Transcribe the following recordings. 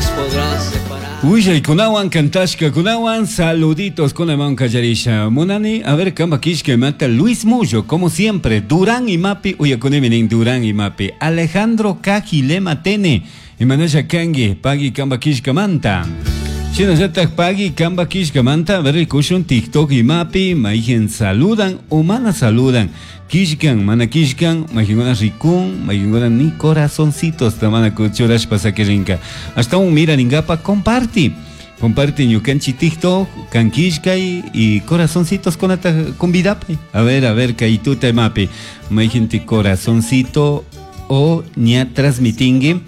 nos podrá separar. Willaykunawan kantashkakunawan saluditos kunaman kallarisha. Munani, a ver, kamba kishka imata Luis Mullo, como siempre, Durán imapi, uyakunimi nin Durán imapi. Alejandro Kajilema Tene, imanasha kangi, pagui kamba kishkamanta. Shinallatak pagui kamba kishkamanta, a ver, kushun TikTok imapi, maijen saludan o mana saludan. Kishkan, mana kishkan, maijenguna rikun, maijenguna ni corazoncitos tamana kuchurashpa sakirinka. Hasta un mira ningapa comparti. Comparte ñukanchi TikTok, kankishkay y corazoncitos kunata convidape. A ver, kaytuta imapi. Maijente corazoncito o ña transmitingue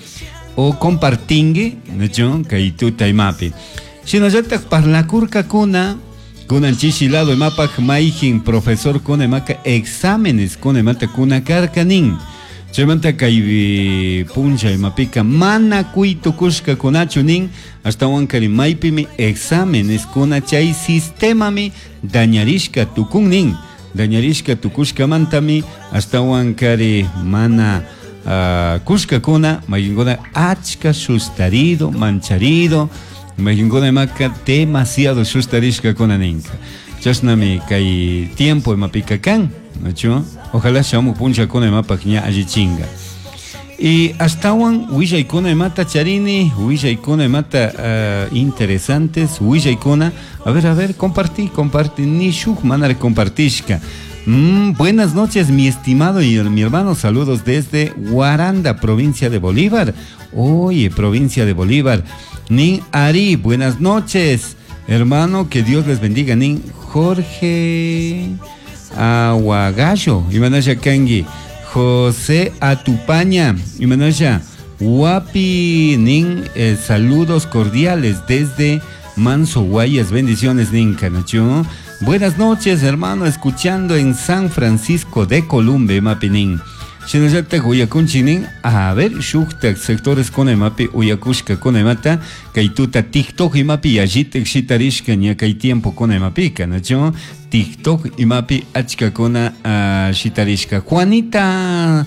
o compartingue, ¿no? Kaytuta imapi. Shinallatak parlakurkakuna kunan chishi lado imapak maijin profesor kuna imaka exámenes kuna imata kuna karkanin. Chaymanta kay puncha imapika mana kuy tukushkakunachu nin ashtawankari maypimi exámenes kuna chay sistemami dañarishka tukun nin. Dañarishka tukushkamantami ashtawankari mana kushkakuna maykinkuna achka sustarido, mancharido, maykinkuna imaka demasiado sustarishkakuna ninka. Chashnami kay tiempo imapika kan, ¿no? Ojalá shamu punchakuna imapak ña allichinga. Y ashtawan willaykuna imata charini, willaykuna imata interesantes, willaykuna, a ver, compartí, compartí, ni shuk manara compartishka. Buenas noches, mi estimado y mi hermano, saludos desde Guaranda, provincia de Bolívar. Oye, provincia de Bolívar. Nin Ari, buenas noches, hermano, que Dios les bendiga. Nin Jorge Aguagallo, Imanasha Kangi, José Atupaña, Imanasha Guapi, Nin, saludos cordiales desde Manso Guayas, bendiciones, Nin Canacho. Buenas noches, hermano, escuchando en San Francisco de Columbe, Mapinin. Shinallatak uyakunchinin, a ver, shuktak sectores kuna imapi uyakushka kuna imata, kay tuta TikTok imapi yallitak shitarishka ña kay tiempo kuna imapika, ¿no? TikTok imapi achka kuna shitarishka. Juanita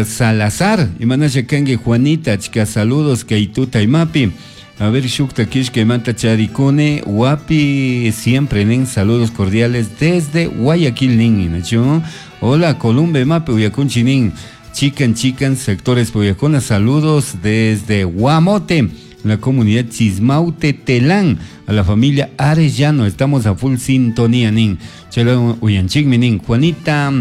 Salazar, imanasha kanki Juanita, achka saludos kay tuta imapi. A ver, shukta kishka imata charikune, wapi siempre nin, saludos cordiales desde Guayaquil nin, ¿no? Hola, Columbe mape uyakunchi nin, chican chican sectores uyacuna, saludos desde Guamote, la comunidad Chismaute Telán, a la familia Arellano, estamos a full sintonía nin, chelo uyanchikmi nin, Juanita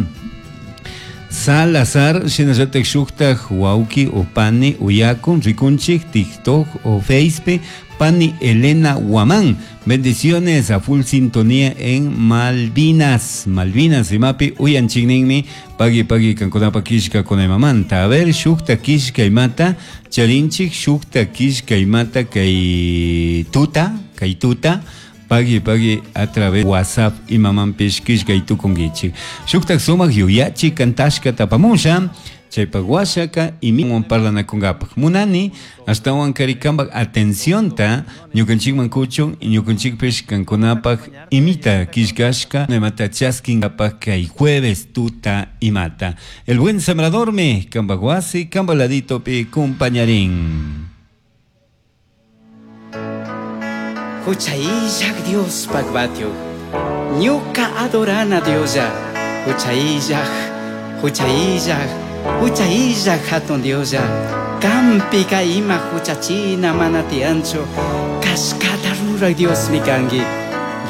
Salazar, shinallatak shuktak wauki o pani uyakun, rikunchik, TikTok o Facebook, Pani Elena Guamán. Bendiciones a full sintonía en Malvinas. Malvinas, imapi, uyanchikninmi, pagui pagui kankunapa kishka kunamamanta. A ver, shukta kishka imata, charinchik, shukta kishka imata, kay tuta, kay tuta. Pagui pagui a través de WhatsApp y mamampish kishka y tukungichik. Shuktak sumak yuyachi kantashka tapamusha, chaypak washaka y mi parlanakungapak. Munani, ashtawan karikambak atención ta, ñukanchikman kuchun y ñukanchikpish kankunapak imita kishkashka, imata chaskingapak kay jueves tuta imata. El buen sembrador me, kambak wasi, kambaladito pi kumpañarín. Huchaillak Dios pakbatio, ñuka adorana Diosa, huchaillak, huchaillak, huchaillak hatun Diosa, kampika ima huchachina manatiancho, kashkata rurak Dios mikangi,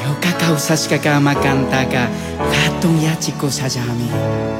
ñuka kawsashka kama kantaka, hatun yachikushallami.